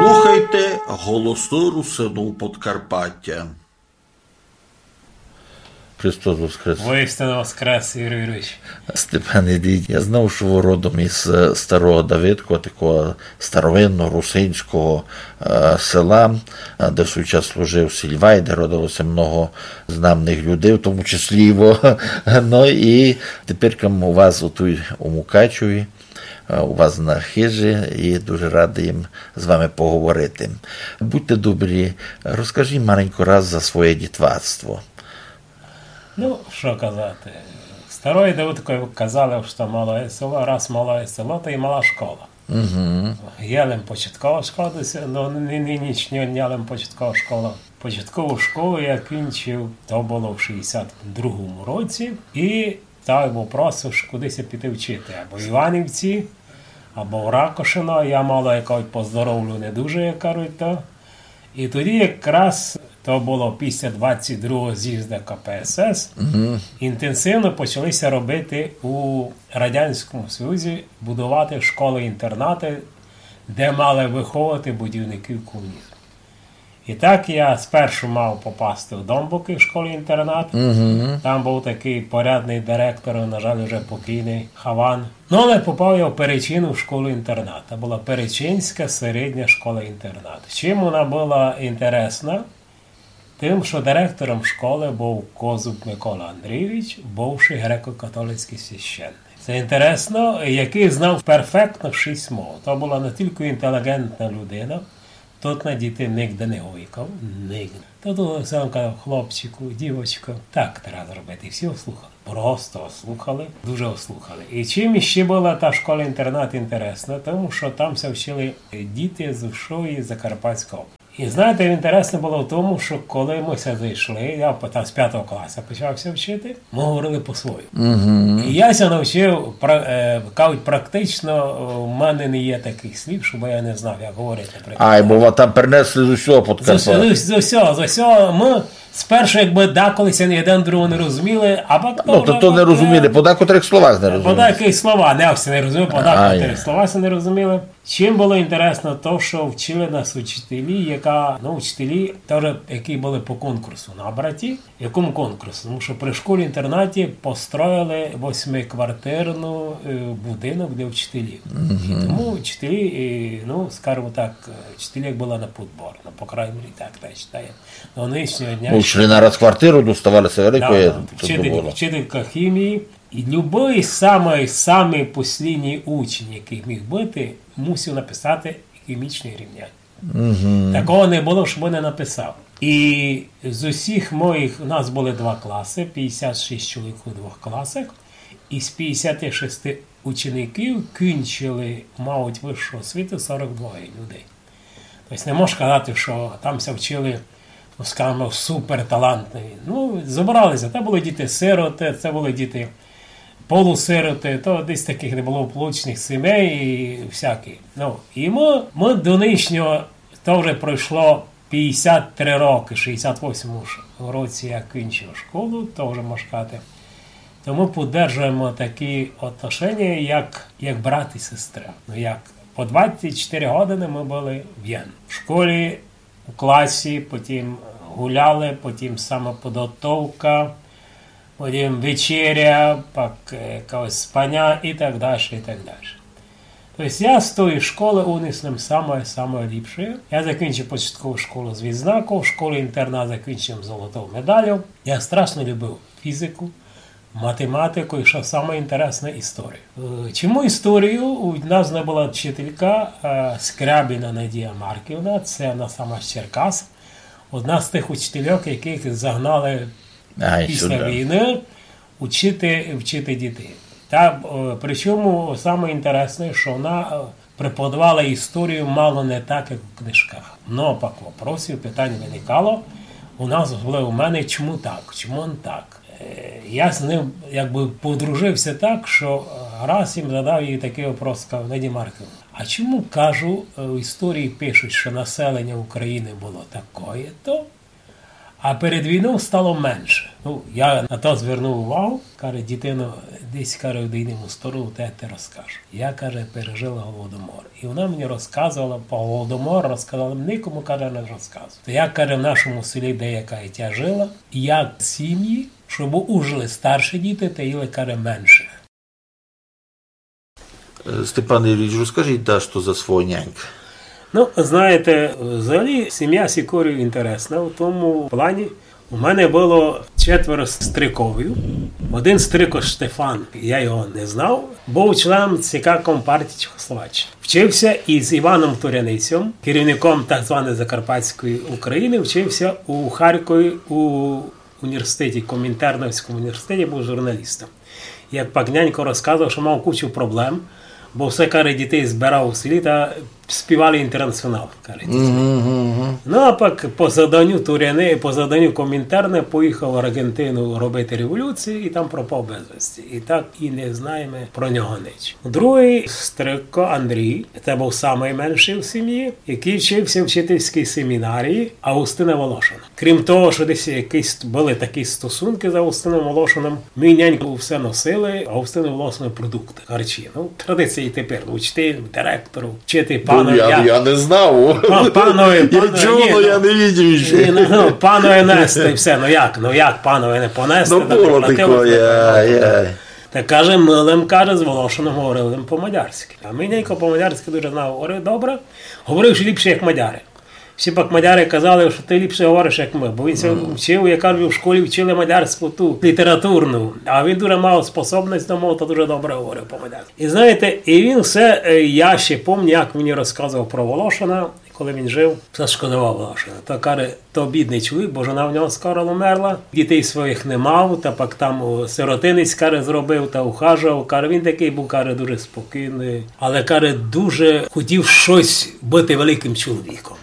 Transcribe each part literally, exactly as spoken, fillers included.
Слухайте Голосы Русинув Подкарпатя. Христос воскрес! Воістину воскрес, Юрій Юрійович. Степан Ідій, я знав, што вы родом із, е, Старого Давидкова, такого старовинного русинського, е, села, е, де в свій час служив Сільвай, де родилося много знамных людей, в тому числі і вы. Ну і тепер у вас у туй у Мукачеві, е, у вас на хижі, і дуже радый їм з вами поговорити. Будьте добрі, розкажіть маленько раз за своє дітварство. Ну, што казати? Старый Давидко казав, што малоє село, раз малоє село, то і мала школа. Мгм. Є лем початкова школа, десь, ну, ні, ні, ніч, ні, є лем початкова школа. Початкову школу я кінчив, то было в шістдесят другому році, і став вопрос, ож куды ся піти вчити, або в Іванівці, або в Ракошино. Я мало, як кажуть, по здоровлю не дуже, як кажуть, то. І тоді якраз то было після двадцять другого з'їзда К П С С, мгм, інтенсивно почали ся робити у Радянському Союзі, будувати школы-інтернаты, де мали выховувати будівників комунізму. І так я спершу мав попасти у Домбуки в школу-інтернат. Мгм. Там быв такый порядный директор, на жаль, уже покійный Хаван. Ну, але попав я в Перечину в школу-інтернат. Та была Перечинська середня школа-інтернат. Чим вона была інтересна? Тым, што директором школы быв Козуб Микола Андрійович, бывшый греко-католицькый священник. Се інтересно, якый знав перфектно шість мов. То была настілько інтелігентна людина, тот на дітей нигде не гойкав, нигде. То, то сам казав: «Хлопчику, дівочко, так треба зробити». І всі ослухали. Просто ослухали, дуже ослухали. І чим іщи была та школа-інтернат інтересна? Тому што там ся вчили діти з усьої Закарпатської області. І знаєте, інтересно было в тому, што коли мы ся зайшли, я по-, там з пятого класа почав ся вчити, мы говорили по-свойому. Мгм. І я ся навчив, пра-, е, кажуть, практично, е, в мене не є такых слів, щоб я не знав, як говорити. Ай, бо ва-, там принесли з усього Подкарпатя. З усього, з усього, з усього. Мы спершу, якбы, деколи ся ні один другого не розуміли, а пак... Ну, то, то не розуміли, по декотрых словах не розуміли. По деякых словах, не всі не розуміли, по декотрых словах ся не розуміли. Чим было інтересно то, што вчили нас учителі, яка, ну, учителі, тоже, які были по конкурсу набраті. Якому конкурсу? Тому што при школі-інтернаті построїли восьмиквартирну, е, будинок для вчителів. Мгм. І тому вчителі, е, ну, скажімо так, е, вчителі як были на подбор, ну, по крайній мірі, так, так считаю. До нынішнього дня... Ну, йшли на раз квартиру, доставали ся великої, да, да. Вчитель, вчителька хімії. І любый самый, самый послідній учень, якый міг быти, мусив написати хімічне рівняння. Мгм. Такого не было, щоб не написав. І з усіх моїх, у нас были два класы, пятдесят шість чоловік у двох класах, і з пятдесят шість учеників кінчили, мають высшу освіту сорок двоє людей. Тобто не можеш казати, што там ся вчили, ну, скажімо, суперталантні. Ну, зобрали ся, то были діти-сироты, то были діти полусироты, то десь такых неблагополучных сімей і всякі. Ну, і мы, мы до нынішнього, то вже пройшло пятдесят три рокы, шістдесят восьмому ш-, році я кінчив школу, то вже можна казати. То мы поддержуєме такі отношення, як, як брат і сестра. Ну, як по двадцять чотири годины мы были в єдному. В школі, у класі, потім гуляли, потім самоподготовка, потім вечеря, пак, е, якесь спаня і так дальше, і так дальше. Тобто я з тої школы унес нам самоє, самоє ліпше. Я закінчив початкову школу з відзнаков, школу-інтернат закінчив з золотою медаллю. Я страшно любив фізику, математику і, што саме інтересне, історію. Е, чому історію? У нас не была вчителька, е, Скрябіна Надія Марківна, це вона сама з Черкас. Одна з тых учительок, якых загнали після війны учити, вчити дітей. Та, е, причому саме інтересне, што вона, е, преподавала історію мало не так, як у книжках. Но пак вопросів, питань виникало у нас, особливо у мене, чому так, чому не так. Е, я з ним якбы подружив ся так, што, е, раз їм задав їй такый вопрос, сказав: «Надія Марківна, а чому, кажу, е, в історії пишуть, што населення України было такоє-то, А перед війнов стало менше. Ну, я на то звернув увагу, каже, дітино, десь, каже, в дійному сторону, та я ти розкажу. Я, каже, пережила голодомор. І вона мені розказувала по голодомору, розказала, никому, каже, не розказувала. То я, каже, в нашому селі, де я, каже, тя жила, і як сім'ї, щоб ужили старші діти, та їли, каже, менших. Е, Степан Юрійович, розкажіть дашто за свого нянька. Ну, знаєте, взагалі сім'я Сікорів інтересна в тому плані. У мене було четверо стриковів. Один стрико Штефан, я його не знав, був членом ЦК Компартії Чехословаччини. Вчився із Іваном Туряницьом, керівником так званої Закарпатської України, вчився у Харкові у університеті, Комінтерновському університеті, був журналістом. Як пак нянько розказував, що мав кучу проблем, бо все, каже, дітей збирав у селі та співали Інтернаціонал, каже. Ну, а пак по заданню Туряни, по заданню Комінтерна поїхав в Аргентину робити революцію і там пропав безвісти. І так і не знаємо про нього ніч. Другий стрико Андрій, це був самий менший в сім'ї, який вчився в вчительській семінарії Августина Волошина. Крім того, що десь якісь були такі стосунки з Августином Волошином, мій нянько все носили Августину Волошину продукти, харчі. Ну, традиція і тепер, ну, вчитель, директору, вчити Ну, панові. я, я не знав. Па-, панові, Я панові, чув, ні, але ну, я не видів ні, ще. ну, ну, панові нести все, ну як, ну як панові не понести? Ну, Та було платили такое, за це. ай, ай. Та каже, ми лим, каже, з Волошином говорили по-мадярськи. А мій нянько по-мадярськи дуже знав, говорив добре, говорив ще ліпше, як мадяри. Всі пак мадяри казали, що ти ліпше говориш, як ми, бо він ся вчив, я кажу, в школі вчили мадярську ту літературну, а він дуже мав способність до мов, то дуже добре говорив по-мадярськи. І знаєте, і він все, е, я ще пам'ятаю, як мені розказував про Волошина, коли він жив, все шкодував Волошина. То каже, то бідний чоловік, бо жона в нього скоро умерла, дітей своїх не мав, та пак там у сиротинець, каже, зробив та ухажував. Каже, він такий був, каже, дуже спокійний, але, каже, дуже хотів щось бути великим чоловіком.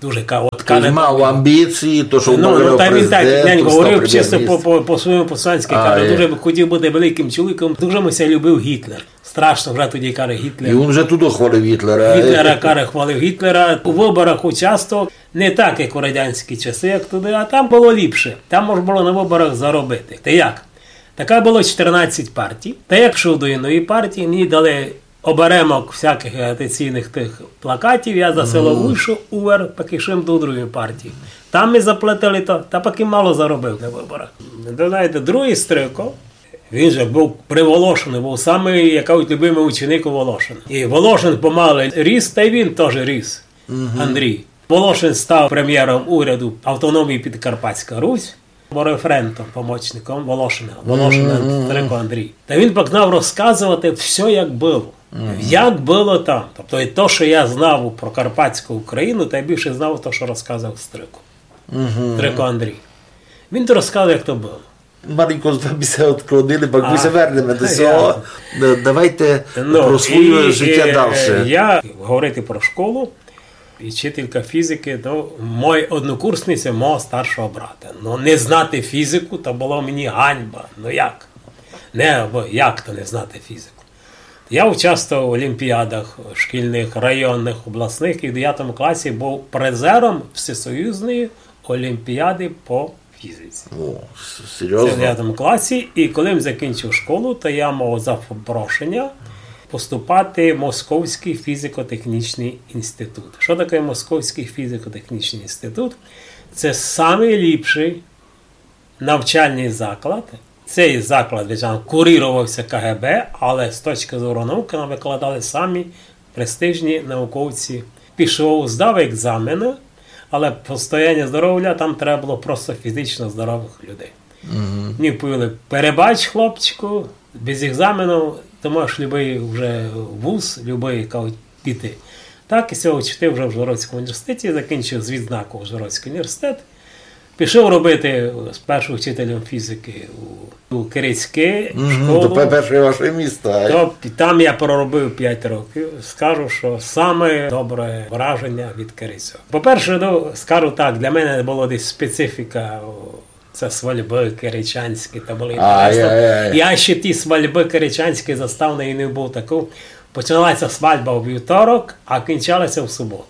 Дуже ка-, от Тобто каже, мав амбіції, то, що Ну, ну, говорив та він так, президент, нянько став говорив чисто по, прем'єр-міністром. По, по-своєму по-селянськи, А, каже, є. Дуже би хотів бути великим чоловіком, дуже ми ся любив Гітлер. Страшно вже тоді, каже, Гітлер. І він вже туди хвалив Гітлера. Гітлера, каже, хвалив Гітлера. У виборах участвував не так, як у радянські часи, як туди, а там було ліпше. Там можна було на виборах заробити. Та як? Така було чотирнадцять партій. Та як пішов до єдної партії, мені дали оберемок всяких агітаційних тих плакатів, я за село уйшов, увер, пак ішов до другої партії. Там ми заплатили то, та пак і мало заробив на виборах. Ви знаєте, другий стрико, він же був при Волошину, був самий, як кажуть, любимий ученик у Волошина. І Волошин помалу ріс, та й він теж ріс, Андрій. Волошин став прем'єром уряду автономії Підкарпатська Русь, був референтом, помічником Волошина, Волошина стрико Андрій. Та він пак знав розказувати все, як було. Як було там. Тобто і то, що я знав про Карпатську Україну, та я більше знав то, що розказував стрико. Стрико Андрій. Він то розказував, як то було. Маленько з вами ся відклонили, бо ми А. ся вернеме до Я- цього. Е, Давайте Ну, про своє і, життя е, далі. Я говорити про школу, і вчителька фізики, ну, мой однокурсниця мого старшого брата. Ну, не знати фізику, то було мені ганьба. Ну як? Не, бо як то не знати фізику? Я участвував в олімпіадах шкільних, районних, обласних, і в дев'ятому класі був призером всесоюзної олімпіади по фізиці. О, с- Це в серйозно. дев'ятому класі, і коли я закінчив школу, то я мав запрошення поступати в Московський фізико-технічний інститут. Що таке Московський фізико-технічний інститут? Це найліпший навчальний заклад. Цей заклад, звичайно, курувався К Г Б, але з точки зору науки нам викладали самі престижні науковці. Пішов, здав екзамени, але по состоянню здоров'я там треба було просто фізично здорових людей. Мені повіли: перебач, хлопчику, без екзамену ти можеш любий вже вуз, любий, кажуть, піти. Так, і ся вчити вже в Ужгородському університеті, закінчив з відзнакою Ужгородський університет. Пішов робити з першим вчителем фізики у, у Керецьке, в Мгм, школу. То пе- перше ваше місто. Ай. То там я проробив п'ять років. Скажу, що саме добре враження від Керецьок. По-перше, ну, скажу так, для мене було десь специфіка, о, це свальби керечанські, то були Ай, інтересно. ай, ай. Я ще ті свальби керечанські застав, не, не був такий. Починалася свальба у вівторок, а кінчалася в суботу.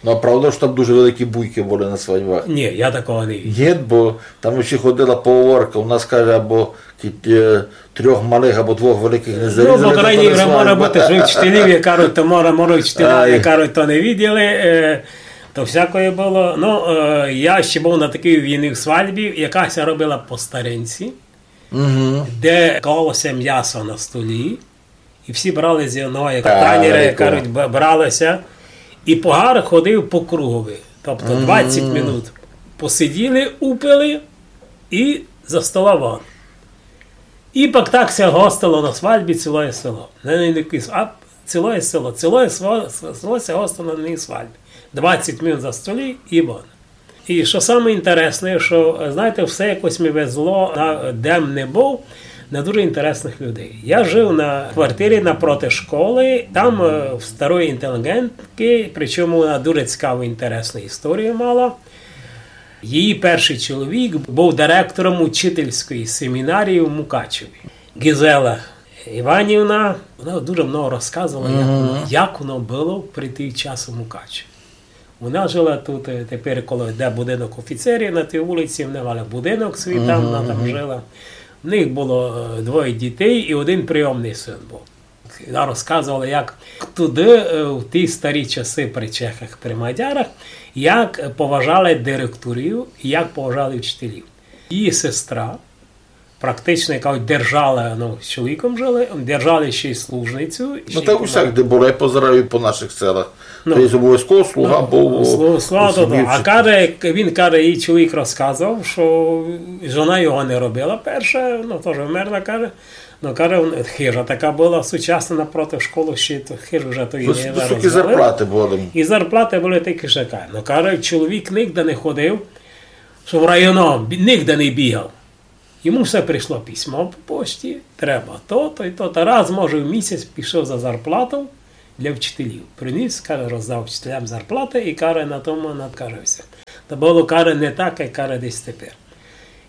Ну, а правда, што там дуже великі буйкы были на свадьбах? Ні, я такого не видів. Ні, бо там іщи ходила поговорка, у нас, каже, або кі-, е, трьох малых, або двох великых не зарізали, то не свадьба. Ну, по крайній мірі, може быти, што учителів, як кажуть, то може, може, учителя, як кажуть, то не виділи, е, то всякоє было. Ну, е, я іщи быв на такій єдній свадьбі, яка ся робила по старинці, де клало ся м'ясо на столі, і всі брали з одного, як танєра, як кажуть, б-, брали ся, і погар ходив по кругови. Тобто двадцять минут посиділи, упили і за стола вон. І пак так ся гостило на свадьбі цілоє село. Не, не, не якесь, а цілоє село. Цілоє село, село ся гостило на одній свадьбі. Двадцять минут за столі і вон. І што саме інтересне, што, знаєте, всьо якось ми везло, на, де м не быв, на дуже інтересных людей. Я жив на квартирі напроти школы, там, е, в старої інтелігенткы, причому вона дуже цікаву, інтересну історію мала. Її першый чоловік быв директором учительської семінарії в Мукачеві. Гізела Іванівна, вона дуже много розказувала, як воно, як воно было при тій час у Мукачеві. Вона жила тут, е, тепер коло, де будинок офіцерів, на тій вулиці, вони мали будинок свій там, вона там жила. В них было, е, двоє дітей і один прийомный син быв. Вона розказувала, як туды, е, в ті старі часы при чехах, при мадярах, як поважали директорів, як поважали вчителів. Її сестра, практично, яка держала, ну, з чоловіком жили, держали ще й служницю. Ну, так усяк, де було, я позираю по нашых селах. Ну. То є обовязково слуга быв у сім'ї вчителя. А каже, він каже, її чоловік розказував, што жона його не робила перша, ну, тоже вмерла, каже. Ну, каже, хижа така была сучасна напроти школы, ще то хижу вже то і не розвалили. Высокі зарплаты были. І зарплаты были такі шикарні. Ну, каже, чоловік нигде не ходив, што в районо, бі-, нигде не бігав. Йому всьо прийшло письмо по пошті, треба то-то і то-то. Раз, може, в місяць пішов за зарплату для вчителів. Приніс, каже, роздав вчителям зарплаты і, каже, на тому надкажився. То было, каже, не так, як, каже, десь тепер.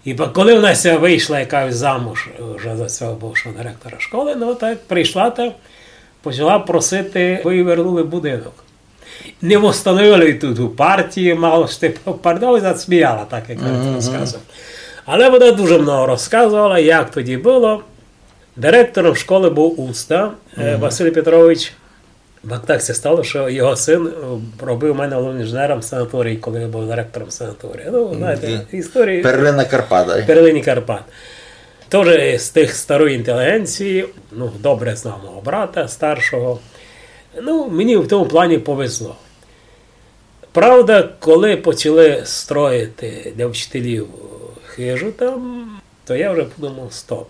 І па-, коли вона ся вышла, як кажуть, замуж, е, вже за сього бывшого директора школы, ну, так прийшла та почала просити, бы їй вернули будинок. Не восстановили тут у партії, мало што, пардон, засміяла, так як я розказував. Але вона дуже много розказувала, як тоді было. Директором школы быв Уста, е, Василь Петрович. Так, так ся стало, што його син, е, робив у мене головним інженером санаторії, коли я быв директором санаторії. Ну, знаєте, історії. Перлина Карпат, ай. Перлині Карпат. Тоже з тых старої інтелігенції, ну, добре знав мого брата старшого. Ну, мені в тому плані повезло. Правда, коли почали строїти для вчителів хижу там, то я вже подумав: «Стоп.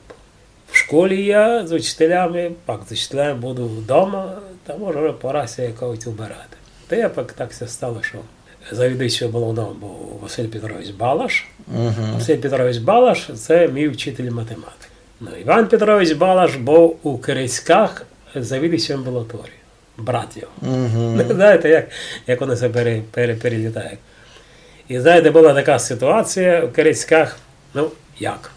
В школі я з учителями, пак з учителями буду вдома, та може вже пора ся якось убирати». Та я пак так ся стало, што завідуючим головного быв Василь Петрович Балаш. Василь Петрович Балаш — це мій вчитель математики. Ну, Іван Петрович Балаш быв у Керецьках завідуючим амбулаторії. Брат його. Знаєте, як, як воно ся пере-, пере-, перелітає. І, знаєте, была така ситуація в Керецьках, ну, як?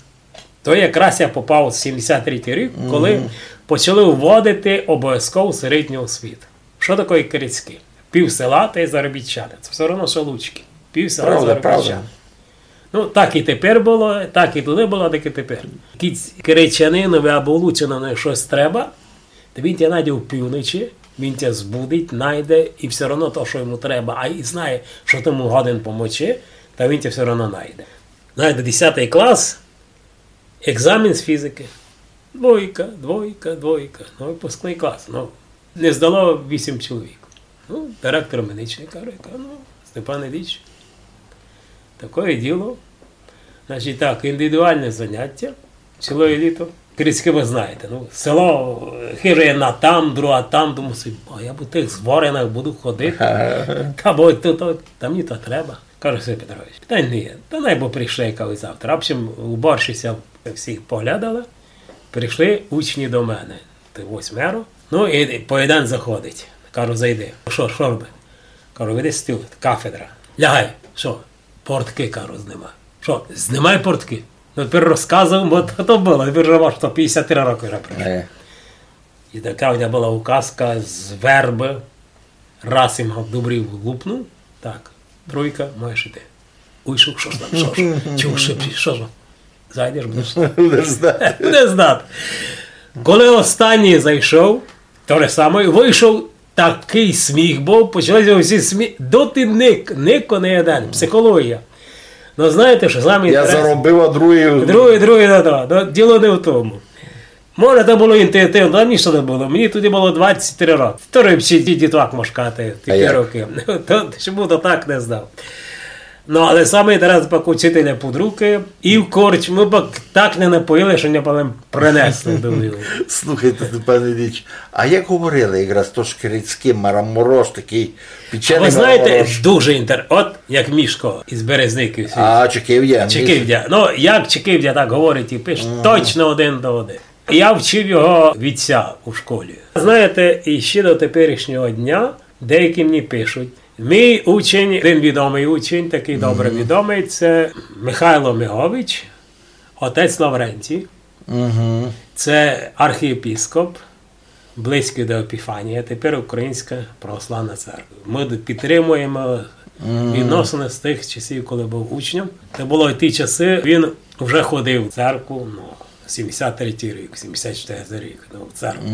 То якраз я попав у сімдесят третій рік, коли почали вводити обовязкову середню освіту. Што таке Керецькі? Пів села — то є заробітчани. Це всьо равно, што Луцькі. Пів села — заробітчани. Правда, правда. Ну, так і тепер было, так і туды было, так і тепер. Кідь керечанинові або лучанинові штось треба, то він тя найде в півночі, він тя збудить, найде, і всьо равно то, што йому треба, а і знає, што ти му годен помочи, та він тя всьо равно найде. Знаєте, десятый клас, екзамен з фізикы. Двойка, двойка, двойка. Ну, выпускный клас. Ну, не здало вісім чоловік. Ну, директор медичный каже, каже: «Ну, Степан Ілліч, такоє діло. Значить так, індивідуалне заняття цілоє літо». Керецькі вы знаєте, ну, село, е, хижа єдна там, друга там, думаю собі: «А я по тых зворинах буду ходити. Та бо то, то, та мені то треба». Каже Василь Петрович: «Питань не є, та най бы прийшли, каже, завтра». В общем, уборщиця всіх поглядала, прийшли учні до мене, тых восьмеро. Ну, і по єден заходить. Кажу: «Зайди». «Што, што роби?» Кажу: «Видиш стіл, кафедра. Лягай». «Што?» «Порткы», кажу, «знимай». «Што?» «Знимай порткы». Ну, тепер розказуєм, бо то, то было, тепер вже, може, то пятдесят три рокы вже пройшло. Е. І така в мене была указка з вербы. Раз им добрі лупнув, Так, тройка, можеш іти. Уйшов, што ж там, што ж? Чув, што, што ж? Зайдеш, будеш знати. Будеш знати. Коли останній зайшов, то же саме, вийшов, такый сміх быв, почали всі смі-, доти ник-, нико не єден, психологія. Но знаєте, што саме інтересне? Я заробив, а другый... Другый, другый, да, да. Но діло не в тому. Може, то было інтуїтивно, а мені што не было. Мені тоді было двадцять три рокы. Вторый ще ді-, дітвак, мож казати, в ті рокы. То, што був, то так не знав. Но, але саме інтересне, пак учителя під рукы, і в корчму пак так не напоїли, што не палем принесли до нього. Слухайте, Степан Ілліч, а як говорили якраз то шкірицькый мараморош, такый печеный мараморош? Вы знаєте, дуже інтер-, от як Мішко із Березників. А, Чекивдя. Чекивдя. Ну, як Чекивдя так говорить і пише, точно один до один. Я вчив його вітця у школі. Знаєте, і ще до теперішнього дня деякі мені пишуть. Мій учень, один відомый учень, такый добре відомый, це Михайло Мигович, отець Лаврентій. Це архієпископ, близькый до Епіфанії, а тепер Українська православна церква. Мы д-, підтримуємо відносини з тых часів, коли быв учнем. Це было в ті часы, він вже ходив в церкву, ну, сімдесят третій рік, сімдесят четвертый рік, ну, в церкву.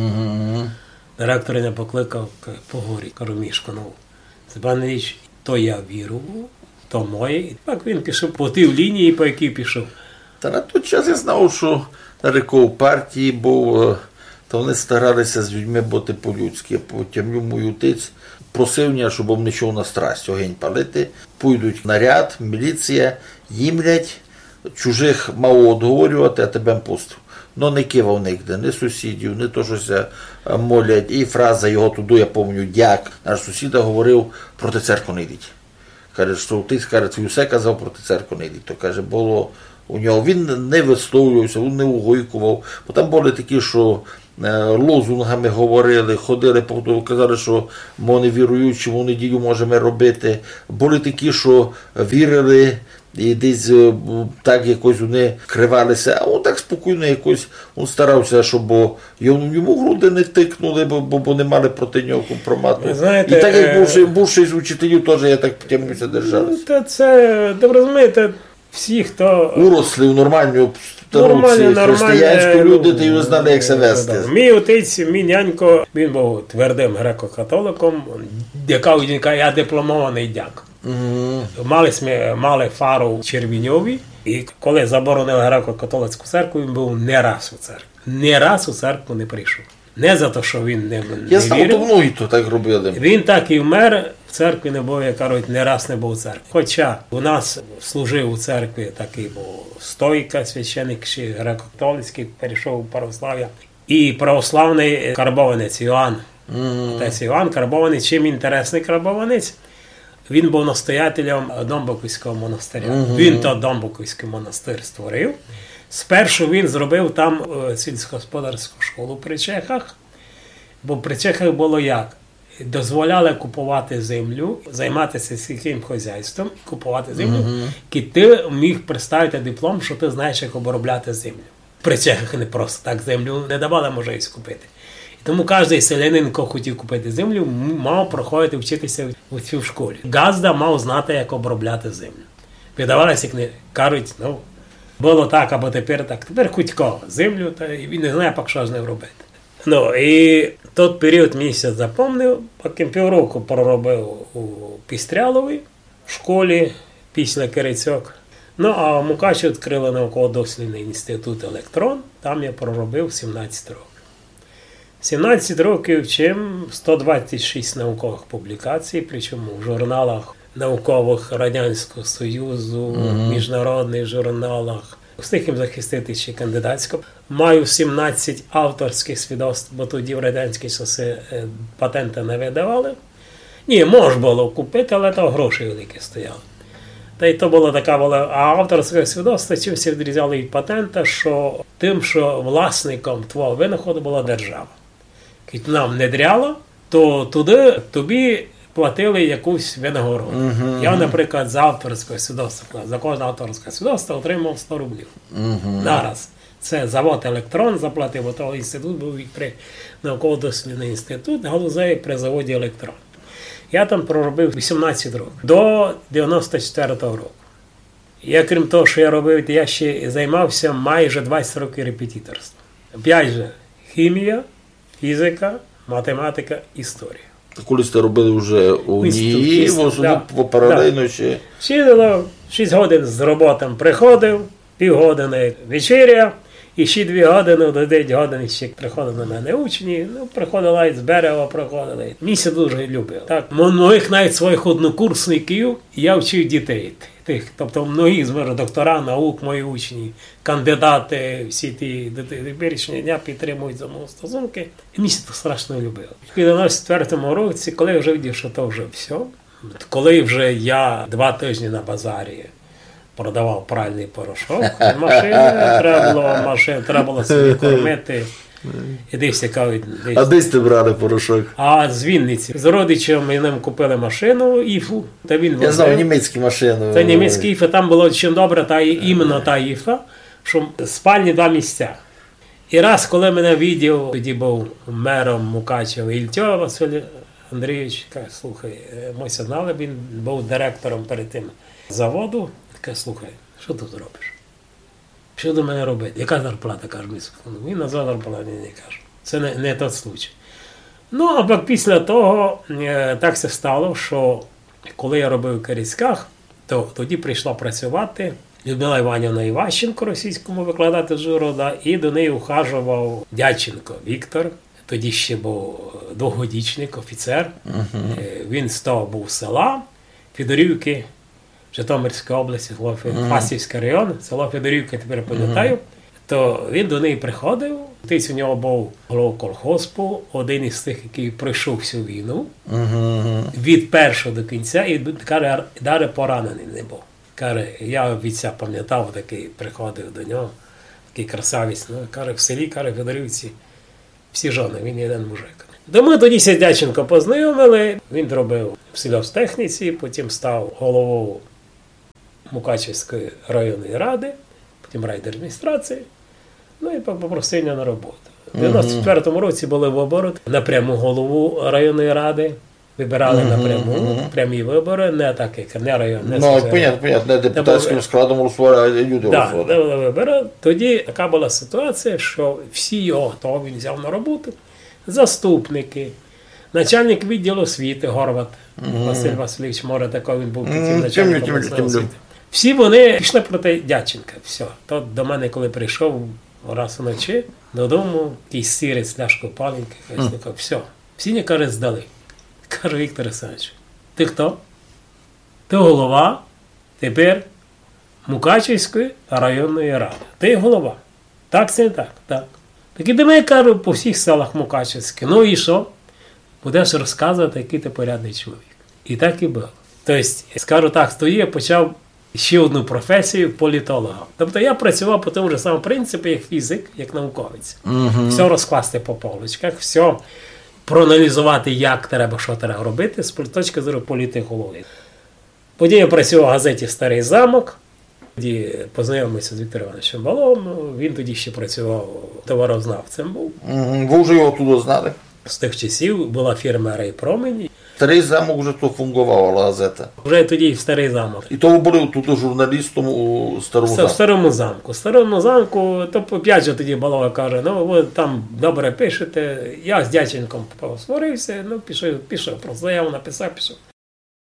Директор мене покликав, к-, поговорити, кажу: «Мішко, ну, Степан Ілліч, то я вірую, то моє». І так він пішов по тій лінії, по якій пішов. Та на той час я знав, што Нариков у партії быв, е, та они старали ся з людьми быти по-людськы. Потім мій отець просив мене, щоб не йшов на страсть, огень палити. Пойдуть наряд, міліція, їмлять, чужых мало одговорювати, а тебе пустив. Но не кивав нигде, ні сусідів, ні то, што ся, е, молять. І фраза його туды, я помню, дяк, наш сусіда, говорив: «Проти церкви не йдіть». Каже, што отець, каже, твій усе казав, проти церкви не йдіть. То, каже, было у нього, він не висловлював ся, він не угойкував. Бо там были такі, што, е, лозунгами говорили, ходили, по-, казали, што мы не віруючі, мы в неділю можеме робити. Были такі, што вірили, і десь, е, бу-, так якось они кривали ся. А він так спокійно якось, він старав ся, щоб йому, йому в груди не тикнули, бо, бо, бо не мали проти нього компромату. Вы знаєте, і так як, е, більше, більшість учителів теж, я так потягнув ся, держали ся. Ну, та це, та вы розумієте, всі, хто уросли в нормалну обстановку, нормальні, християнську, нормальні люди, та й знали, як ся вести. Да. Мій отець, мій нянько, він быв твердым греко-католиком, дяка, він каже: «Я дипломованый дяк». Мали сьме, мали фару в Червіньові, і коли заборонили греко-католицьку церкву, він быв не раз у церкві. Не раз у церкву не прийшов. Не за то, што він не, не вірив. Я знав, то многі то так робили. Він так і вмер, в церкві не быв, як кажуть, не раз не быв у церкві. Хоча у нас служив у церкві такый быв стойка, священик ще греко-католицькый, перейшов у православ'я. І православный карбованець Іоанн. Отець Іоанн карбованець, чим інтересный карбованець? Він быв настоятелем Домбоковського монастыря. Він то Домбоковськый монастыр створив. Спершу він зробив там, е, сільськогосподарську школу при чехах, бо при чехах было як? Дозволяли купувати землю, займати ся сільськым хозяйством, купувати землю, кідь ты міг представити диплом, што ты знаєш, як обробляти землю. При чехах не просто так землю не давали можливість купити. І тому каждый селянин, хто хотів купити землю, м-, мав проходити вчити ся у цій школі. Ґазда мав знати, як обробляти землю. Видавали ся кни-, кажуть, ну, было так, або тепер так. Тепер хоть кого землю, та й він не знає, пак што з нею робити. Ну, і тот період мені ся запомнив, потім півроку проробив у Пістрялові в школі після Кирицьок. Ну, а в Мукачеві відкрыли науково-дослідный інститут «Електрон», там я проробив сімнадцять років. Сімнадцять років, чим сто двадцять шість науковых публікацій, причому в журналах науковых Радянського Союзу, в міжнародных журналах, встиг їм захистити ще кандидатську. Маю сімнадцять авторськых свідоцтв, бо тоді в радянські часы, е, патенты не видавали. Ні, мож было купити, але то гроші великі стояли. Та й то была така вела-, а авторське свідоцтво чим ся відрізняло від патента, што тым, што власником твого винаходу была держава. Кідь вона внедряла, то туды тобі платили якусь винагороду. Я, наприклад, за авторське свідоцтво, за кожне авторське свідоцтво отримав сто рублів. Нараз. Це завод «Електрон» заплатив, бо то інститут быв при, науково-дослідный інститут галузевый при заводі «Електрон». Я там проробив вісімнадцять років, до девяносто четвертого року. Я, крім того, що я робив, я ще займався майже двадцять років репетиторством. Опять же, хімія, фізика, математика, історія. Коли сте робили вже у Інститут, НІІ, інститут, в основному да, по- паралельно да. ще. Ще, ну, шість годин з роботи приходив, пів години вечеря, і ще дві години, до дев'ять годин ще приходили до мене учні. Ну, приходили і з Берева, приходили. Мені це дуже любив. Так, мо- моїх навіть своїх однокурсників я вчив дітей. Тих, тобто многі з мене доктора наук, мої учні, кандидати, всі ті до те- теперішнього дня підтримують зо мною стосунки. І мені це страшно любило. В дев'яносто четвертому році, коли я вже видів, що то вже все, коли вже я два тижні на базарі продавав пральний порошок, машини, треба було машин, треба було собі кормити. І десь цікавить, десь. А де сте брали порошок? А з Вінниці. З родичем ми ним купили машину, Іфу, та він Я возив. Знав німецькі машини. Це німецькі Іфи, там було чим добре, та і іменно та Іфа, що спальні два місця. І раз, коли мене видів, тоді був мером Мукачева Ільтьо Василь Андрійович, каже: «Слухай, е, ми ся знали, він був директором перед тим заводу. Каже: Слухай, що ти тут робиш? Що до мене робити? Яка зарплата?» — каже мені. Він назвав зарплату, не, не кажу. Це не, не той случай. Ну, а пак після того е, так ся стало, що коли я робив в Керецьках, то тоді прийшла працювати Людмила Іванівна Іващенко, російському викладати з Ужгорода, і до неї ухажував Дяченко Віктор, тоді ще був двохгодічник, офіцер. Е, Він з того був села Федорівки, Житомирської області, село Фе- Фастівський район, село Федорівка, тепер пам'ятаю. То він до неї приходив, десь у нього був голова колгоспу, один із тих, який пройшов всю війну від першого до кінця, і д- каже, ар- даже поранений не був. Каже, я від ся пам'ятав, такий приходив до нього, такий красавець. Ну, каже, в селі, каже, Федорівці, всі жони, він єден мужик. То ми тоді ся з Дяченко познайомили, він робив в сільгосптехніці, потім став головою Мукачевської районної ради, потім райдержадміністрації. Ну і по- попросив мене на роботу. У дев'яносто четвертому році були вибори на пряму голову районної ради. Вибирали напряму, прямі вибори, не так, як не район, не Ну, сільський. Понятно, понятно, не депутатським складом голосували, а люди Да, голосували. Де були вибори. Тоді така була ситуація, що всі його, того він взяв на роботу, заступники, начальник відділу освіти Горват Василь Васильович, може, такий він був, потім начальником обласної освіти. Всі вони пішли проти Дяченка. Все. Тот до мене, коли прийшов раз вночі додому, якийсь сірець, ляшку паленки, каже: «Слухай, все. Всі мені, каже, здали». Кажу: «Віктор Олександрович, ти хто?» «Ти голова тепер Мукачевської районної ради. Ти голова. Так це не так?» «Так». «Так іди, кажу, по всіх селах Мукачевських. Ну і що? Будеш розказувати, який ти порядний чоловік». І так і було. Тобто, скажу так, тоді я почав ще одну професію — політолога. Тобто я працював по тому ж самому принципу, як фізик, як науковець. Все розкласти по полочках, все проаналізувати, як треба, що треба робити з пол- точки зору політології. Тоді я працював в газеті «Старий замок», тоді познайомився з Віктором Івановичем Балом, він тоді ще працював, товарознавцем був. Мгм. Ви вже його туди знали? З тих часів була фірма «Райпромінь». Старий замок вже тут фунґовала газета. Вже тоді в «Старий замок». І то ви були тут журналістом у Старому Це в замку? «Старому замку». В «Старому замку», то опять же тоді Балова каже: «Ну, ви там добре пишете». Я з Дяченком посварився, ну, пішов, пішов, просто заяву написав, пішов.